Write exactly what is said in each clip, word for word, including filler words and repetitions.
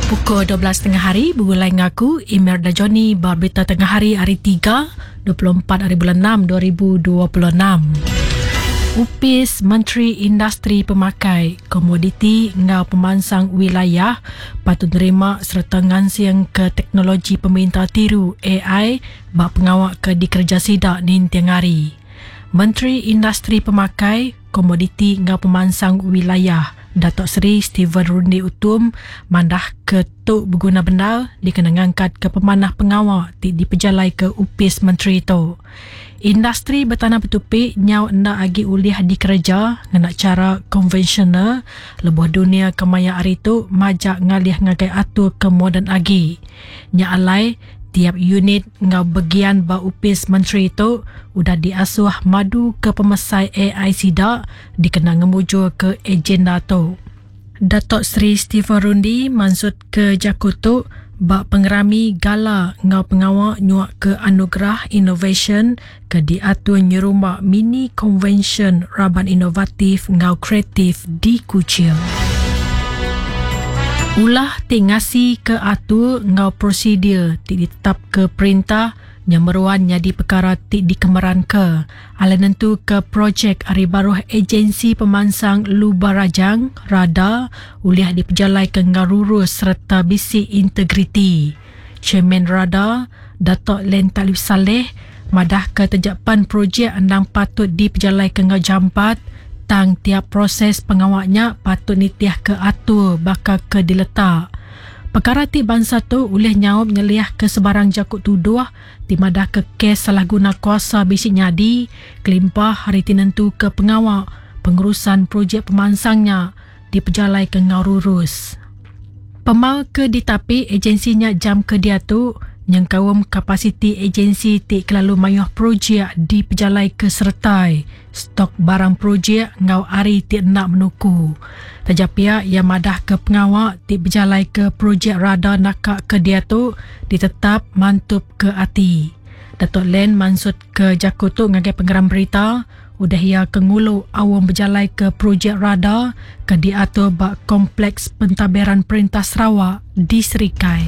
Pukul dua belas tengah hari begulai ngaku Imelda Johnny ba berita tengah hari hari tiga dua puluh empat hari bulan enam dua ribu dua puluh enam. Upis Menteri Industri Pemakai, Komoditi ngau Pemansang Wilayah patut nerima serta ngansing ke teknologi peminta tiru A I ba pengawak ke dikerja sidak ninting hari. Menteri Industri Pemakai, Komoditi ngau Pemansang Wilayah Datuk Seri Stephen Rundi Utom mandah ke tu berguna bendar dikena ngangkat ke pemanah pengawak ti dipejalai ke upis menteri tu. Industri bertanah bertupi nyau enda agi ulih dikerja ngena cara konvensional lebuh dunia kemaya hari tu majak ngalih ngagai atur ke moden agi. Nya alai tiap unit ngau bagian ba upis menteri tu udah diasuh madu ke pemesai A I sida dikena ngemujur ke agenda tu. Datuk Seri Stephen Rundi maksud ke jaku tu ba pengerami gala ngau pengawak nyuak ke anugerah innovation ke diatur nyerumba mini convention raban inovatif ngau kreatif di Kuching. Ulah ti ngasi ke atur ngau prosedur ti ditetap ke perintah nyemeruan jadi perkara ti dikemeran ke. Ala nentu ke projek ari baruh agensi pemansang Luba Rajang, RADA, ulih dipejalai ke ngau rurus serta bisi integriti. Chairman RADA, Datuk Len Talif Saleh, madah ke terjapan projek endang patut dipejalai ke ngau jampat, tang tiap proses pengawaknya patut nitiah ke atur bakal ke diletak. Perkara ti bangsa tu ulih nyaup nyeliah ke sebarang jakut tuduh ti madah ke kes salah guna kuasa bisi nyadi kelimpah hari ti nentu ke pengawak pengurusan projek pemansangnya dipejalai ke ngau rurus. Pemal ke ditapi agensinya jam ke dia tu nyengkaum kapasiti agensi ti kelalu mayuh projek dipejalai ke sertai stok barang projek ngau ari ti nak menuku. Tajapia ia madah ke pengawak ti berjalai ke projek RADA nakak ke dia tu ditetap mantup ke ati. Datuk Len maksud ke jaku tu ngagai pengeram berita udah ia ke ngulu awam berjalai ke projek RADA ke diatur ba Kompleks Pentadbiran Perintah Sarawak di Serikai.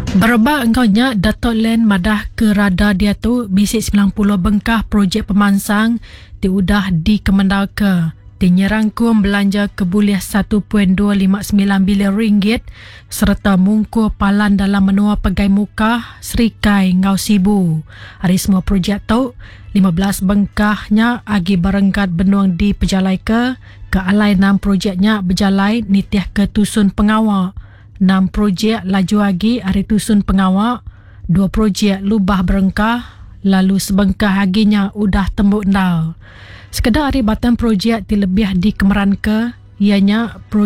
Berebak engkau nya Datuk Len madah ke RADA dia tu bisi sembilan puluh bengkah projek pemansang ti udah dikemendal ke ti nyerangkum belanja ke bulih satu perpuluhan dua lima sembilan bilion ringgit serta mungkur palan dalam menua Pegai Mukah, Serikai ngau Sibu. Hari semua projek tu lima belas bengkahnya agi barengkat benuang di pejalai ke ke alai enam projeknya berjalai nitih ke tusun pengawak. Enam projek laju agi hari tusun pengawak, dua projek lubah berengkah, lalu sebengkah aginya udah tembuk ndal. Sekedar hari batang projek ti lebih dikemeran ke, ianya projek